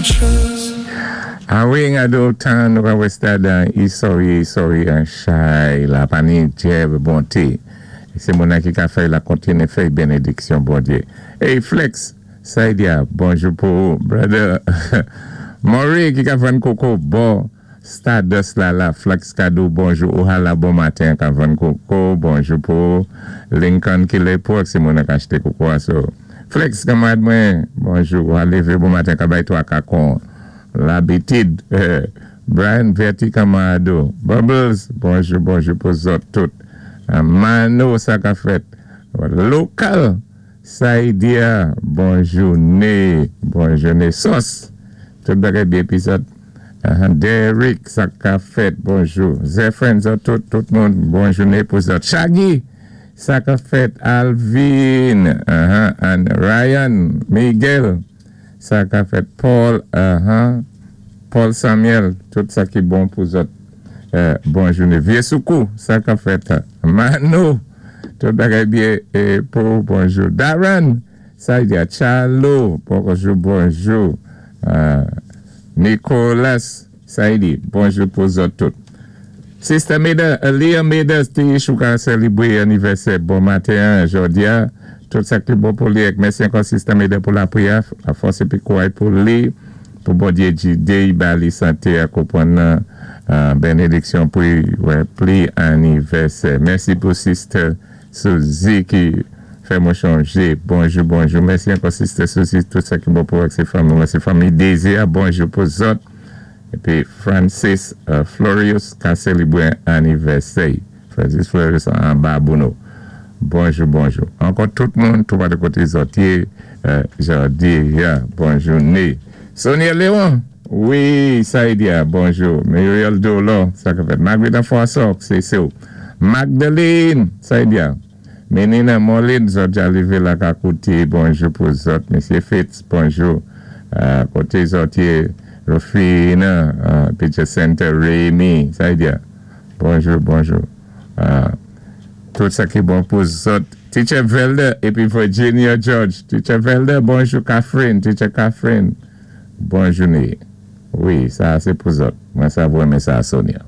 Trust. A wi, gado tan nou ka wè stad an, i sòwi, i sòwi an chay la, pa ni dyèb bonté. Sé moun-nan ki ka fè la kontiné fè bénédiksyon Bondyé. Hey Flex, Saidia, bonjou pou ou, brother. Maury ki ka vann koko bò Stardust la la, Flex Kadou, bonjou. Ohala, bon maten, ka vann koko, bonjou pou ou. Lincoln ki lé pou sé moun-nan ka achté koko a so. Flex, kanmarad mwen, bonjou. Ou lévé bon maten, ka bay twa kakon. L'habitude. Brian Verti kanmarad. Bubbles, bonjou, bonjou pou zòt tout. Mano, sa ka fèt. Lokal, Saidia, bonjou, né, bonjou, né. Sos, tout bagay byen épizòd. Derek, sa ka fèt, bonjou. Zephyrin, zòt tout, tout moun, bonjou, né pou zòt. Shaggy, sa ka fèt. Alvin, and Ryan, Miguel, sa ka fèt. Paul, Paul Samuel, tout sa ki bon pou zòt. Bonjou, né. Vyé Soukou, sa ka fèt. Mano, tout bagay byen é pou bonjou. Darren, Saidia, Chalo, bonjou, bonjou. Nicolas, Saidi, bonjou pou zòt tout. Sister Meda, Elia Meda, ti chou ka sélébwé anivèsè bon maten, jòdi a. Tout sa ki bon pou li. Mèsi ankò Sister Meda pou lapriyè, lafòs épi kouray pou li, pou Bondyé gidé, ba li santé a konpwann bénédiksyon pou wè pli anivèsè. Mèsi pou Sister Suzy ki fè mwen chonjé. Bonjou, bonjou. Mèsi ankò Sister Suzy, tout sa ki bon pou ak sé fanmi. Sé fanmi Désir. Bonjou pou zòt. Épi Francis Florius ka sélébwé anivèsè. Francis Florius an Babouno. Bonjou, bonjou. Ankò tout moun, tout de koté zòt yé, jòdi a, bonjou né. Sonia Léon, wi, Saidia, bonjou. Muriel Dolo, sa ka fèt. Marguerite François, sé sé. Magdalene, Saidia. Menina Moline, zòt ja lévé la ka kouté, bonjou pou zòt. Mesye Fitz, bonjou. Koté zòt yé, Rufina, Picture Center, Rémi, Saidia. Bonjou, bonjou. Tout sa ki bon pou zòt. Teacher Velder épi Virginia George. Teacher Velder, bonjou Catherine. Teacher Catherine, bonjou. Wi, sa sé pou zòt. Mwen sa renmen sa Sonia.